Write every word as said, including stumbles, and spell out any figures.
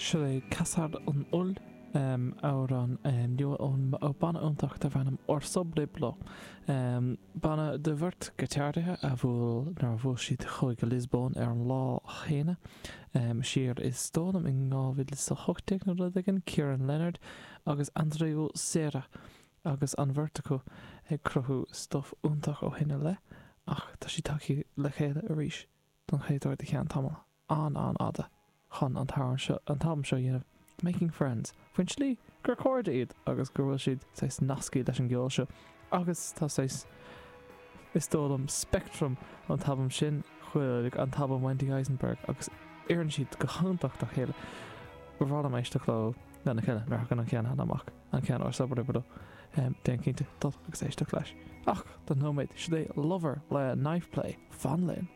Seo é Caçar an Fheoil, amhrán nua ón banna iontach darb ainm Orsobrebló. Banna de bheirt giotáraithe a bhuail nuair a bhuail siad chuaigh go Liospóin ar an lá chéanna siar is dóigh liom in dhá mhíle is a hocht déag nó rud éigin, Kieran Leonard agus Andreu Serra agus an bheirt acu ag cruthú stuif iontach ó shin i leith ach tá siad tagtha le chéile arís don chéad uair i gceann tamall an-an-fhada chun an t-amhrán seo, an t-albam seo a dhéanamh, Making Friends, faoin tslí gur cairde iad agus go bhfuil siad saghas nasctha leis an gceol seo agus tá saghas, is dóigh liom, speictream ón t-albam sin chuig an t-albam Wendy Eisenberg agus oireann siad go hiontach dá chéile. Ba bhreá liom éisteacht leo lena chéile nuair a thagann an ceann eile amach, an ceann Orsobriblo. Déan cinnte dul agus éisteacht leis. Ach don nóiméad, seo é Lover le Knife Play. Fan linn!